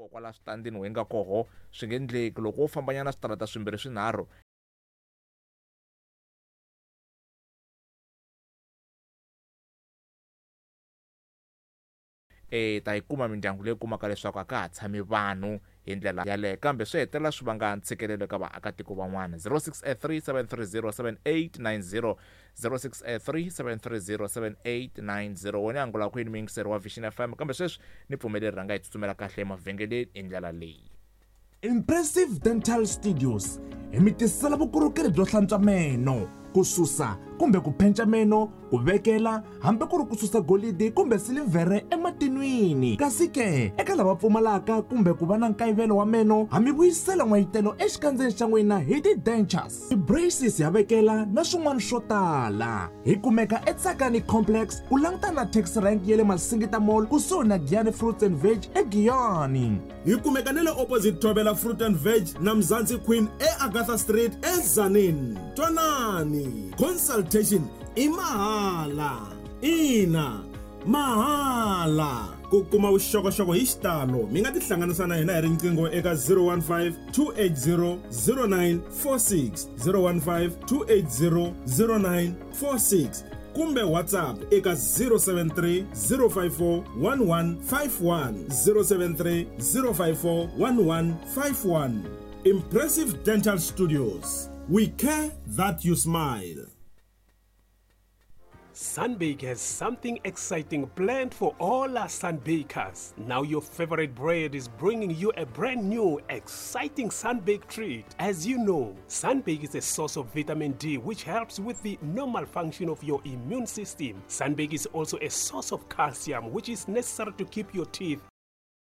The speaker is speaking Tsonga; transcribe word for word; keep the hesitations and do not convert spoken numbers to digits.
Koho kwala switandini we nga koho swi nge endleki loko wo fambanyana switarata swimbirhi swinharhu e ta yi kuma mindyangu leyi kumaka leswaku a ka ha tshami vanhu hi ndlela yaleyo kambe swi hetelela swi vanga ntshikelelo eka vaakatiko van'wana zero six three seven three zero seven eight nine zero zero six three seven three zero seven eight nine zero wena angula kwini muyingiseri wa Vision F M kambe sweswi ni pfumeleri rhanga hi tsutsumela kahle emavhengeleni hi ndlela leyi. Impressive Dental Studios hi mi tisela vukorhokeri byo hlantswa meno, ku susa kumbe ku phenca meno, ku vekela hambi ku ri ku susa golidi kumbe silivhere ematin'wini. Kasi ke eka lava pfumalaka kumbe ku va na nkayivelo wa meno, ha mi vuyisela n'wayitelo exikandzeni xa n'wina hi ti-dentures, ti-braces ya vekela na swin'wana swo tala. Hi kumeka eTsakani Complex ku langutana na taxi rank ya le Masingita Mall kusuhi na Giyani Fruits and Veg eGiyani. Hi kumeka na le opposite Thobela Fruit and Veg na Mzansi Queen eAgatha Street eTzaneen. Twanani, consultation i mahala. Ina, mahala. Ku kuma vuxokoxoko hi xitalo mi nga tihlanganisa na hina hi riqingho eka zero one five two eight zero zero nine four six, zero one five two eight zero zero nine four six kumbe WhatsApp eka zero seven three zero five four one one five one, zero seven three zero five four one one five one. Impressive Dental Studios. We care that you smile. Sunbake has something exciting planned for all our Sunbakers. Now your favorite bread is bringing you a brand new, exciting Sunbake treat. As you know, Sunbake is a source of vitamin D, which helps with the normal function of your immune system. Sunbake is also a source of calcium, which is necessary to keep your teeth